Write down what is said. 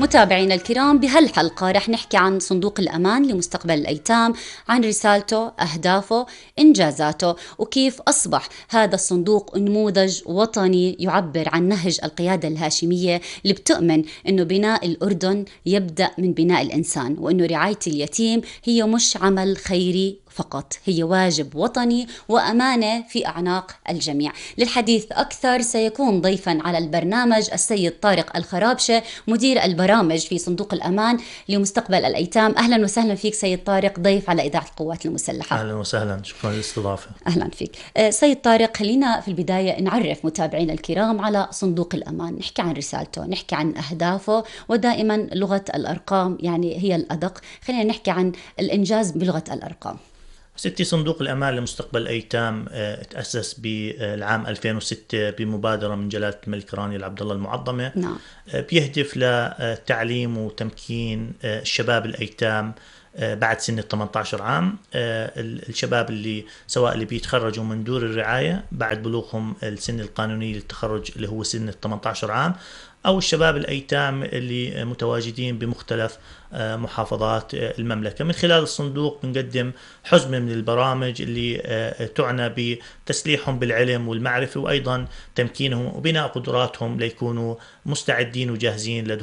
متابعينا الكرام، بهالحلقة رح نحكي عن صندوق الأمان لمستقبل الأيتام، عن رسالته، أهدافه، إنجازاته، وكيف أصبح هذا الصندوق نموذج وطني يعبر عن نهج القيادة الهاشمية اللي بتؤمن أنه بناء الأردن يبدأ من بناء الإنسان، وأنه رعاية اليتيم هي مش عمل خيري فقط، هي واجب وطني وأمانة في أعناق الجميع. للحديث أكثر سيكون ضيفا على البرنامج السيد طارق الخرابشة، مدير البرامج في صندوق الأمان لمستقبل الأيتام. أهلا وسهلا فيك سيد طارق، ضيف على إذاعة القوات المسلحة. أهلا وسهلا، شكرا للاستضافة. أهلا فيك سيد طارق. خلينا في البداية نعرف متابعينا الكرام على صندوق الأمان، نحكي عن رسالته، نحكي عن أهدافه، ودائما لغة الأرقام يعني هي الأدق. خلينا نحكي عن الإنجاز بلغة الأرقام. ستي، صندوق الأمان لمستقبل الأيتام تأسس بالعام 2006 بمبادرة من جلالة الملك راني العبد الله المعظمة. نعم. بيهدف لتعليم وتمكين الشباب الأيتام بعد سن 18 عام. الشباب اللي سواء اللي بيتخرجوا من دور الرعاية بعد بلوغهم السن القانوني للتخرج اللي هو سن 18 عام، أو الشباب الأيتام اللي متواجدين بمختلف محافظات المملكة. من خلال الصندوق بنقدم حزمة من البرامج اللي تعنى بتسليحهم بالعلم والمعرفة، وأيضا تمكينهم وبناء قدراتهم ليكونوا مستعدين وجاهزين